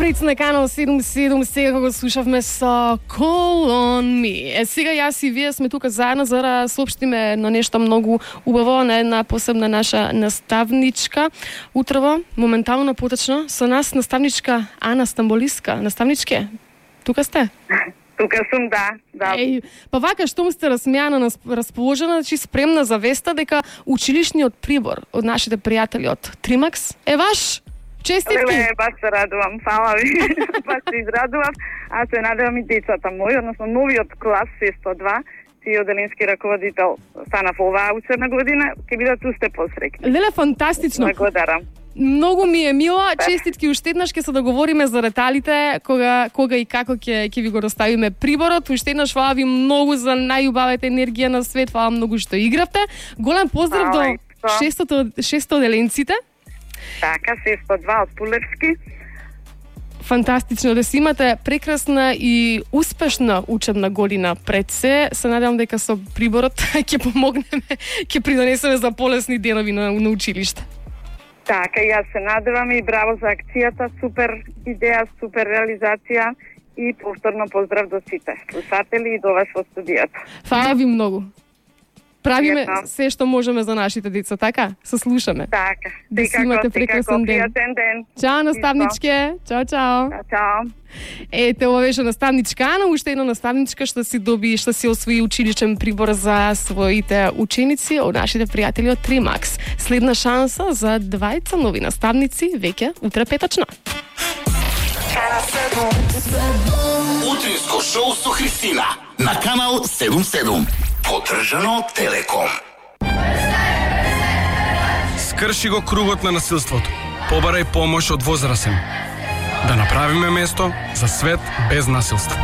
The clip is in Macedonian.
Напред на канал 77, сега го слушавме со Call on Me. Сега јас и вие сме тука заедно за да соопштиме на нешто многу убаво, на една посебна наша наставничка. Утрово, моментално поточно, со нас наставничка Ана Стамболиска. Наставничке, тука сте? Тука сум, да. Еј, па вака, штом сте разсмејана, расположена, значи спремна за веста дека училишниот прибор од нашите пријатели од Тримакс е ваш. Честитки! Леле, баш се радувам, фала ви. Баш се израдувам. Аз се надевам и децата мои, односно новиот клас 602, чиј оделенски раководител станав оваа учебна година, ќе бидат уште посреќни. Леле, фантастично! Благодарам. Многу ми е мило, честитки уште еднаш ќе се договориме за деталите, кога и како ќе ви го доставиме приборот. Уште еднаш фала ви многу за најубавата енергија на свет, фала многу што игравте. Голем поздрав до 600 оделенците. Така, 602 од Пулевски. Фантастично да си имате прекрасна и успешна учебна година пред се. Се надевам дека со приборот ќе помогнеме, ќе придонесеме за полесни денови на училиште. Така, јас се надевам и браво за акцијата, супер идеја, супер реализација и повторно поздрав до сите слушатели и до вас во студијата. Фала ви многу. Правиме се што можеме за нашите деца, така? Се слушаме. Така, да си имате прекрасен ден. Чао, наставничке. Чао. Чао. Ете, ова беше наставничка Ана, уште една наставничка што си освои училичен прибор за своите ученици од нашите пријатели од Тримакс. Следна шанса за двајца нови наставници веќе утре петочно. Утринско шоу со Христина на канал 77. Поддржано од Телеком. Скрши го кругот на насилството. Побарај помош од возрасен. Да направиме место за свет без насилство.